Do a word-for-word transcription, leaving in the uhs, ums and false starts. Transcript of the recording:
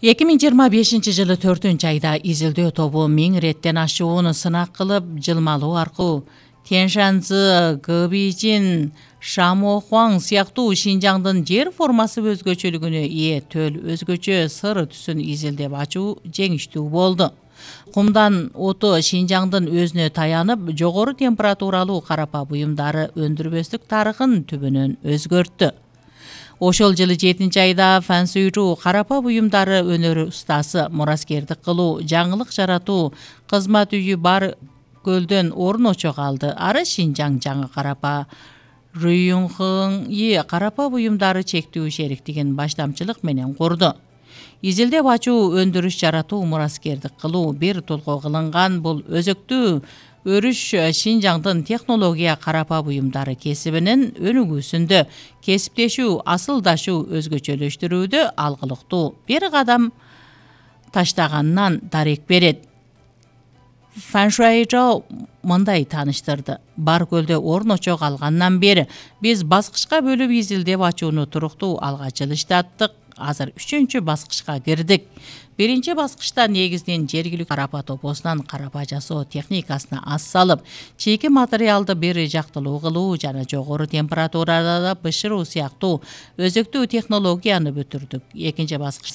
эки миң жыйырма бешинчи жылы төртүнчү айда изилдөө тобу миң реттен ашуун сынак кылып, жылмалуу аркылуу Тяньшаньзы, Гэбижин, Шамохуаң сыяктуу Шинжаңдын жер формасы өзгөчөлүгүнө ээ төл өзгөчө сыр түсүн изилдеп ачуу жеңиштүү болду. Кумдан оту Шинжаңдын өзүнө таянып, жогору температуралуу карапа буюмдары өндүрбөстүк тарыхын түбүнөн өзгөрттү. Ошол жылы жетинчи айда Фансуйру карапа буюмдары өнөр устасы мураскердик кылуу, жаңылык жаратуу кызмат үйү бар көлдөн орун очо калды. Ары Шинжаң жаңы карапа Рюйюнхыңи карапа буюмдары чектүү шериктигин баштамчылык менен курду. Изилдеп ачуу, өндүрүш жаратуу, мураскердик кылуу бир толко кылынган бул өзөктүү өрүш Шинжаңдын технология карапа буюмдары кесибинин өнүгүүсүндө кесиптешүү, асылдашуу, өзгөчөлөштүрүүдө алгылыктуу бир кадам таштаганынан дарек берет. Фаншуайжо мындай тааныштырды. Бар көлдө орун очо калгандан бери биз баскычка бөлүп изилдеп ачууну туруктуу алга жылыштаттык. Азыр үчүнчү баскычка кирдик. Биринчи баскычта негизинен жергиликтүү карапа топосунан карапа жасоо техникасына аз салып, чийки материалды бир жактылуу кылуу жана жогору температурада бышыруу сыяктуу өзөктүү технологияны бүтүрдүк. Экинчи баскычта